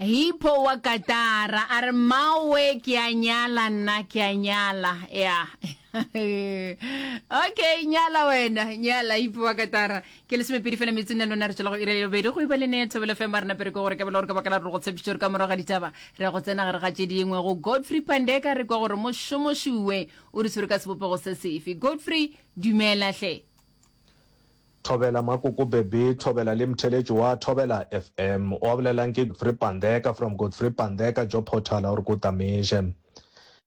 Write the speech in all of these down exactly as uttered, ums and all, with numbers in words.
Hippo wa Katara a re mawe ke a nyala nna ke a nyala ya okay nyala wena nyala Hippo wa Katara ke lesomepedi fela metsong na lona re tšwela go ira ya bobedi go iba le ne Thobela FM a rena pere ke gore ka bela gore ka baka la re go tshepišitše gore ka morago ga ditaba re go tsena gare ga tše dingwe go Godfrey Pandeka re kwa gore mošomošuwe o re tshwere ka sebopego se sefe Godfrey dumela hle Thobela Makoko Bebe, Thobela le mtheletši wa Thobela FM. O a bolelang ke Godfrey Pandeka from Godfrey Pandeka Job Portal a gore ko Tameše.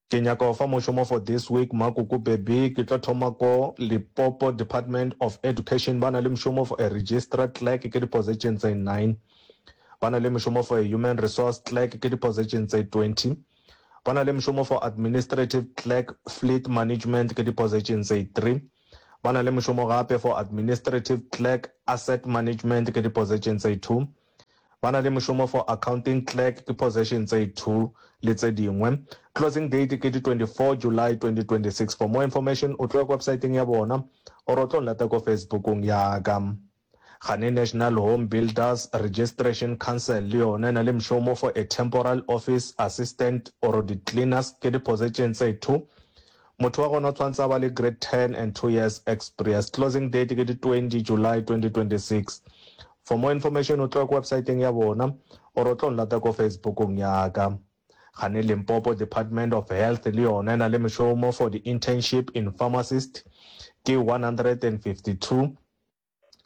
Ke nyaka go fa mošomo for this week Makoko Bebe ke tlo thoma ko Limpopo Department of Education ba na le mošomo for a registrar clerk ke di-position tse nine. Ba na le mošomo for a human resource clerk ke di-position tse twenty. Ba na le mošomo for administrative clerk fleet management ke di-position tse three. Ba na le mošomo gape for administrative clerk asset management ke di-position tse two. Ba na le mošomo for accounting clerk ke position tse two le tse dingwe. Closing date ke di twenty-four July twenty twenty-six. For more information o tlo ya ko websiteng ya bona or o tlo nlata ko Facebookong ya ka. Gane National Home Builders Registration Council le yona e na le mošomo for a temporal office assistant or di-cleaners ke di-position tse two. Motho wa gona o tshwanetse a ba le grade ten and two years experience. Closing date ke di twenty July twenty twenty-six. For more information o tlo ya ko websiteng ya bona or o tlo nlata ko Facebookong ya ka. Gane Limpopo Department of Health le yona e na le mošomo for the internship in pharmacist ke one hundred and fifty-two.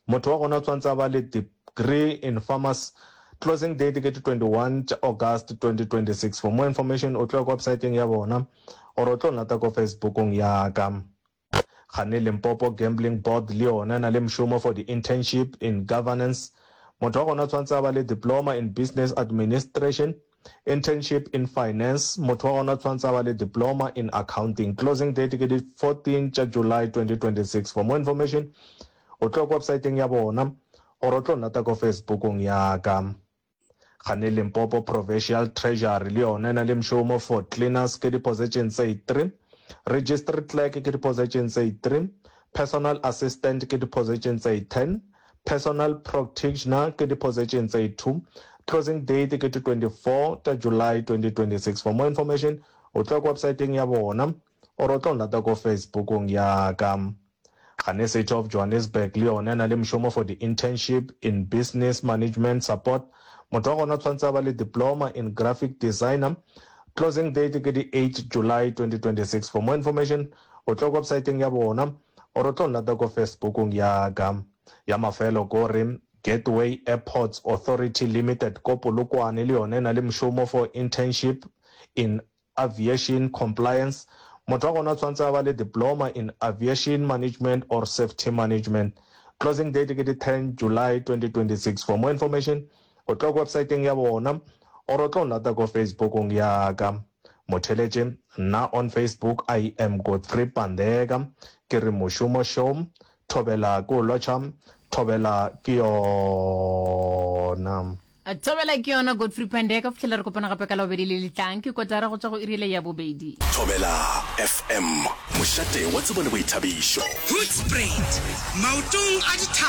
Motho wa gona o tshwanetse a ba le degree in pharmacy. Closing date ke di twenty-one tša August twenty twenty-six. For more information o tlo ya ko websiteng ya bona or o tlo nlata ko Facebookong ya ka. Gane Limpopo Gambling Board le yona e na le mošomo for the internship in governance. Motho wa gona o tshwanetse a ba le diploma in business administration, internship in finance. Motho wa gona o tshwanetse a ba le diploma in accounting. Closing date ke di fourteen tša July twenty twenty-six. For more information o tlo ya ko websiteng ya bona or o tlo nlata ko Facebookong ya ka. Gane Limpopo Provincial Treasury le yona e na le mošomo for cleaners ke di-position tse three, registry clerk ke di-position tse three, personal assistant ke di-position tse ten, personal practitioner ke di-position tse two. Closing date ke di twenty-four tša July twenty twenty-six. For more information o tlo ya ko websiteng ya bona or o tlo nlata ko Facebookong ya ka. Gane City of Johannesburg le yona e na le mošomo for the internship in business management support. Motho wa gona o tshwanetse a ba le diploma in graphic designer. Closing date ke di eight July twenty twenty-six. For more information o tlo ko websiteng ya bona or o tlo nlata ko Facebookong ya ka. Ya mafelo ko re Gateway Airports Authority Limited ko Polokwane le yona e na le mošomo for internship in aviation compliance. Motho wa gona o tshwanetse a ba le diploma in aviation management or safety management. Closing date ke di ten July twenty twenty-six. For more information o tlo ko websiteng ya bona or o tlo nlata ko Facebookong ya ka. Motheletše nna on Facebook I am Godfrey Pandeka ke re mošomo show Thobela ke o lotšha Thobela ke yona. Thobela ke yona Godfrey Pandeka go fihlela re kopana gape ka Labobedi le le tlang ke kotara go tšwa go iri ya bobedi. Thobela F M, mošate wa tsebo le boithabišo. Hoedspruit, maotong a dithaba.